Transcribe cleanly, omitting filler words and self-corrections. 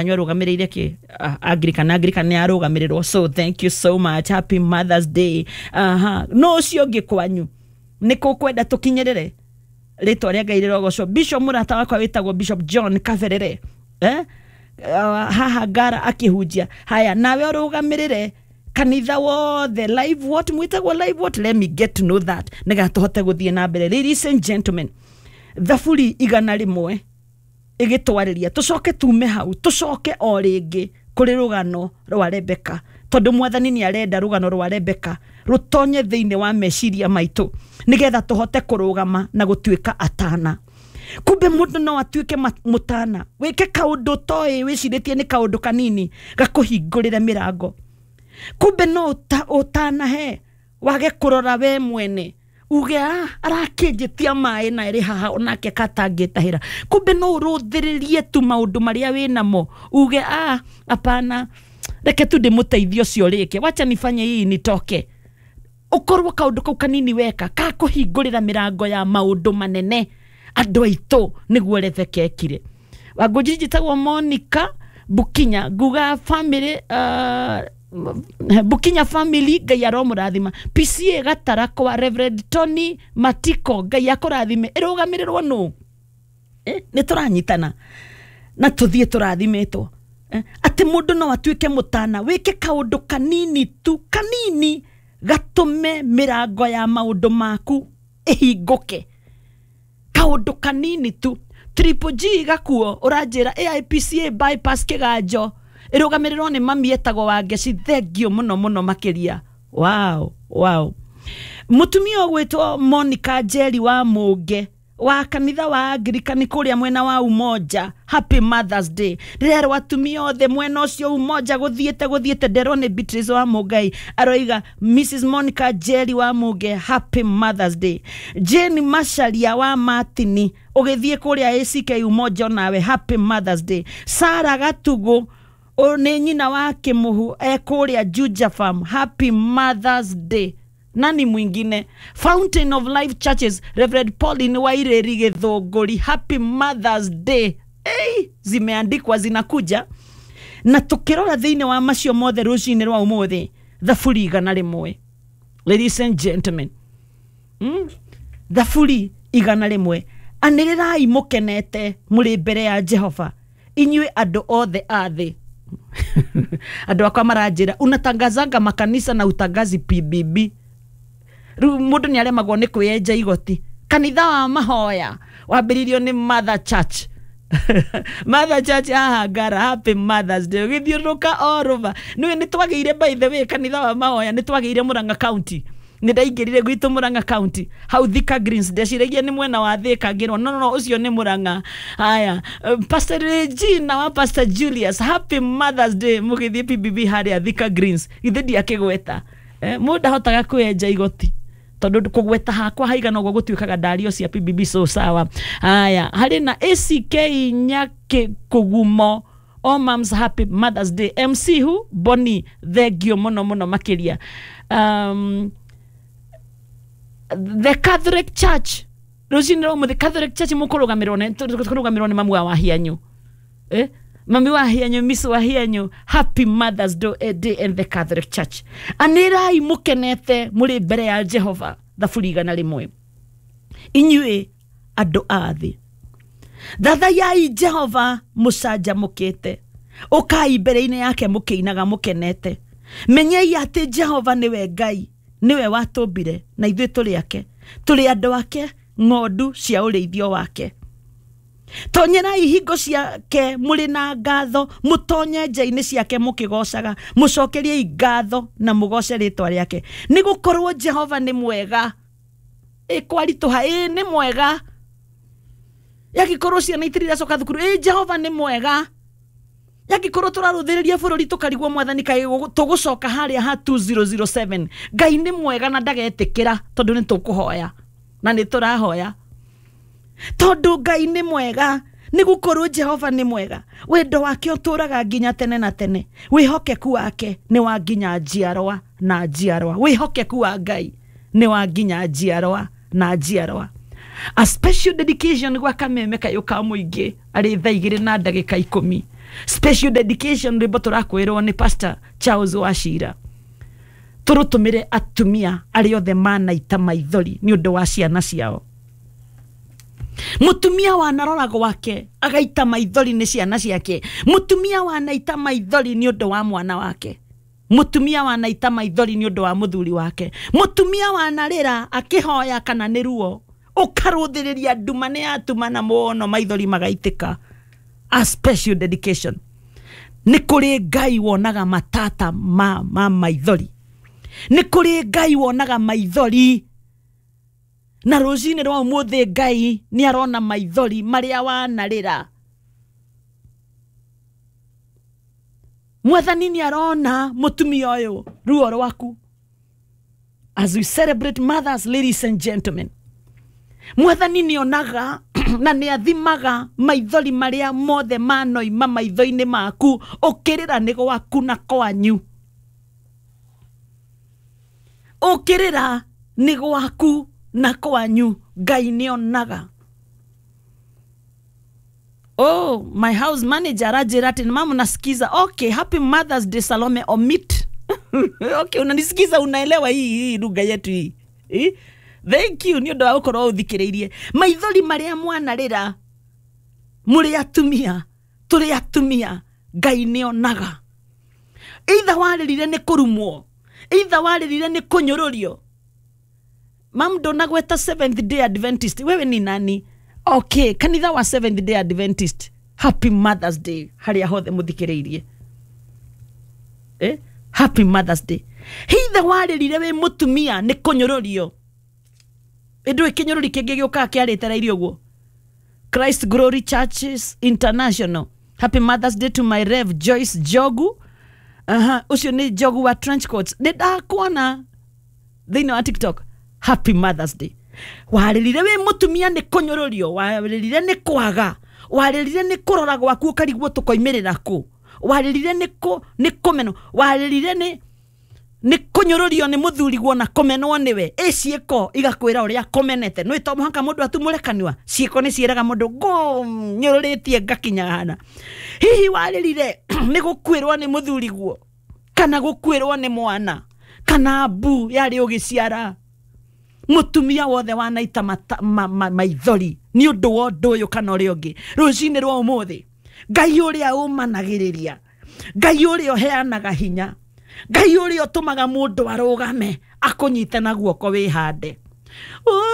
Anyu arũgamĩrĩire kĩ? Anglican, Anglican nĩ arũgamĩrĩrwo. So thank you so much, happy Mother's Day. Aha, no ũcio ũngĩ kwanyu nĩ kũkwenda tũkinyĩrĩre rĩtwa rĩa Ngai rĩrogocwo. Bishop mũrata wakwa wĩtagwo Bishop John Kaberere, eh? Haha ngara akĩhunjia. Haya, nawe ũrũgamĩrĩre kanitha wothe live what mwĩtagwo live what, let me get to know that nĩgetha tũhote gũthiĩ na mbere. Ladies and gentlemen, thaburi 100 ĩgĩtwarĩria tũcoke tume hau, tũcoke o rĩngĩ kũrĩ rũgano rwa Rebeka, tondũ Mwathani nĩ arenda rũgano rwa Rebeka rũtonye thĩinĩ wa meciria maitũ nĩgetha tũhote kũrũgama na gũtuĩka atana. Kumbe mũndũ no atuĩke mũtana, wĩke kaũndũ toĩ wĩcirĩtie nĩ kaũndũ kanini gakũhingũrĩre mĩrango. Kumbe no ũtanahe wage kũrora we mwene, uge arakĩnjĩtia maĩ na ĩrĩ haha onake katangĩtahĩra. Kumbe no ũrũthĩrĩrie tu maũndũ marĩa wĩ namo, uge apana, reke tu ndĩmũteithie ũcio rĩke, wacha nifanye hii nitoke. Ũkorwo kaũndũ kau kanini weka kakũhingũrĩra mĩrango ya maũndũ manene. Andũ aitũ, nĩguo Rebeka ekire. Wangũnji njĩtagwo Monica Bukinya, nguga family, Bukinya family, Ngai aromũrathima. PCA Gatara kwa Reverend Tony Matiko, Ngai akũrathime. Ĩrũgamĩrĩrwo nũ? Nĩ tũranyitana na tũthiĩ tũrathimĩtwo, atĩ mũndũ no atuĩke mũtana, wĩke kaũndũ kanini tu, kanini gatũme mĩrango ya maũndũ maku ĩhingũke, kaũndũ kanini tu. Triple G gakuo ũranjĩra AIPCA bypass kĩganjo ĩrũgamĩrĩrwo nĩ mami etagwo Wangeci, thengio mũno mũno makĩria. Wow. Mũtumia ũgwĩtwo Monica Njeri wa Mũnge wa kanitha wa Anglikani kũrĩa mwena wa Umoja, happy Mother's Day. Ndĩrerwo atumia othe mwena ũcio Umoja gũthiĩte gũthiĩte, nderwo nĩ Beatrice wa Mũngai aroiga Mrs Monica Njeri wa Mũnge, happy Mother's Day. Jane Macharia wa Martini ũgĩthiĩ kũrĩa ACK Umoja, onawe happy Mother's Day. Sara Gatugu nĩ nyina wa Kĩmũhu e kũrĩa Juja Farm, happy Mother's Day. Nani mwingine? Fountain of Life Churches, Reverend Pauline Waireri Gĩthũngũri, happy Mother's Day. Hey, zimeandikwa zinakuja. Na tukĩrora thĩinĩ wa macio mothe rũcinĩ rwa ũmũthĩ, thaburi 100, ladies and gentlemen, Thaburi 100. Anĩrĩrai mũkenete mũrĩ mbere ya Jehova, inyuĩ andũ othe a thĩ. Andũ akwa maranjĩra unatangazanga makanisa na utangazi PBB. Rĩu mũndũ nĩ aremagwo nĩ kwĩenja igoti. Kanitha wa mahoya wambĩrĩirio nĩ Mother Church, Mother Church haha Ngara, happy Mother's Day. Ũgĩthiũrũrũka all over nĩwe nĩ twagĩire, by the way, kanitha wa mahoya nĩ twagĩire Murang'a County. Nĩ ndaingĩrire gwitũ Murang'a County hau Thika Greens, ndeciragia nĩ mwena wa Thika, ngĩrwo no, no, no, ũcio nĩ Murang'a. Haya, Pastor Regina wa Pastor Julius, happy Mother's Day. Mũgĩthiĩ PBB harĩa Thika Greens, githĩ ndiakĩgweta? Mũndũ ndahotaga kwĩenja igoti tondũ kũgweta hakwa haigana ũguo gũtuĩkaga ndario cia PBB. So sawa. Haya, harĩ na ACK Nyakĩkũgumo, all moms, happy Mother's Day. MC hu Boni, thengio mũno mũno makĩria. The Catholic Church rũcinĩ rwa ũmũthĩ, Catholic Church mũkũrũgamĩrwo nĩ mamu wa Wahianyu, eh? Mami wa Hianyu, Miss wa Hianyu, happy Mother's Day in the Catholic Church. Anĩrai mũkenete mũrĩ mbere ya Jehova, thaburi 100. Inyuĩ andũ a thĩ, thathayai Jehova mũcanjamũkĩte, ũkai mbere-inĩ yake mũkĩinaga mũkenete. Menyei atĩ Jehova nĩwe Ngai, nĩwe watũmbire na ithuĩ tũrĩ ake, tũrĩ andũ ake, ng'ondu cia ũrĩithio wake. Tonyerai hingo ciake mũrĩ na ngatho, mũtonye nja-inĩ ciake mũkĩgocaga. Mũcokeriei ngatho na mũgoce rĩtwa rĩake, nĩ gũkorwo Jehova nĩ mwega. Ĩ kwaritũha, ĩ nĩ mwega. Yagĩkorwo ciana itirĩ iracoka thukuru, ĩ Jehova nĩ mwega. Yangĩkorwo tũrarũthĩrĩria bũrũri tũkarigwo Mwathani kaĩ tũgũcoka harĩa ha 2007, Ngai nĩ mwega na ndagetĩkĩra, tondũ nĩ tũkũhoya na nĩ tũrahoya, tondũ Ngai nĩ mwega. Nĩ gũkorwo Jehova nĩ mwega, wendo wake ũtũraga nginya tene na tene, wĩhokeku wake nĩ wa nginya njiarwa na njiarwa. Wĩhokeku wa Ngai nĩ wa nginya njiarwa na njiarwa. A special dedication gwa kameme kayũ ka mũingĩ arĩ thaa 2:10. Special dedication rwĩmbo tũrakwĩrwo nĩ Pastor Charles Wachira, tũrũtũmĩre atumia arĩa othe manaita maithori nĩ ũndũ wa ciana ciao. Mutumia wanarora gwake agaita maithori nĩ ciana ciake, mutumia wanaita maithori nĩ ũndũ wa mwana wake, mutumia wanaita maithori nĩ ũndũ wa mũthuri wake, mutumia wanarĩra akĩhoya kana nĩ ruo, ũkarũthĩrĩria nduma nĩ yatumana mũno maithori magaitĩka. A special dedication nĩ kũrĩ Ngai wonaga matata ma maithori, nĩ kũrĩ Ngai wonaga maithori, na rũcinĩ rwa ũmũthĩ Ngai nĩ arona maithori marĩa wanarĩra. Mwathani nĩ arona mũtumia ũyũ ruo rwaku. As we celebrate mothers, ladies and gentlemen, Mwathani nĩ onaga na nĩ athimaga maithori marĩa mothe manoima maitho-inĩ maku ũkĩrĩra nĩ gwaku na kwanyu, ũkĩrĩra nĩ gwaku na kwanyu, Ngai nĩ onaga. Oh, my house manager aranjĩra atĩ mama nasikiza. Okay, happy Mother's Day Salome Omit. Okay, unanisikiza, unaelewa hii lugha yetu hii. Thank you nĩ ũndũ wa gũkorwo ũthikĩrĩirie. Maithori marĩa mwanarĩra mũrĩ atumia, tũrĩ atumia, Ngai nĩ onaga. Either warĩrire nĩ kũrumwo, either warĩrire nĩ kũnyũrũrio. Mam ndũnagweta Seventh Day Adventist, wewe ni nani? Okay, kanitha wa Seventh Day Adventist, happy Mother's Day harĩa hothe mũthikĩrĩirie. Happy Mother's Day. Hithe warĩrire wĩ mũtumia nĩ kũnyũrũrio, ĩndũ kĩnyũrũri kĩngĩ gĩũkaga kĩarĩtereirio ũguo. Christ Glory Churches International, happy Mother's Day to my Rev Joyce Jogu. Ũcio nĩ Jogu wa trench coats, nĩ ndakuona thĩinĩ wa TikTok. Happy Mother's Day. Warĩrire wĩ mũtumia nĩ kũnyũrũrio, warĩrire nĩ kwaga, warĩrire nĩ kũrora gwaku ũkarigwo tũkoimĩrĩra kũ, warĩrire nĩ kũmenwo, warĩrire nĩ kũnyũrũrio nĩ mũthuriguo na kũmenwo nĩwe. Ĩ ciĩko igakwĩra ũrĩa kũmenete, nĩ to mũhaka mũndũ atumũre kanua, ciĩko nĩ ciĩraga mũndũ ngũnyũrũrĩtie ngakinya hana. Hihi warĩrire nĩ gũkuĩrwo nĩ mũthuriguo, kana gũkuĩrwo nĩ mwana, kana mbu yarĩ ũgĩciara. Mũtumia wothe wanaita maithori nĩ ũndũ wa ũndũ ũyũ kana ũrĩa ũngĩ, rũcinĩ rwa ũmũthĩ Ngai ũrĩa ũmanagĩrĩria, Ngai ũrĩa ũheanaga hinya, Ngai ũrĩa ũtũmaga mũndũ arũgame akũnyite na guoko wĩhande.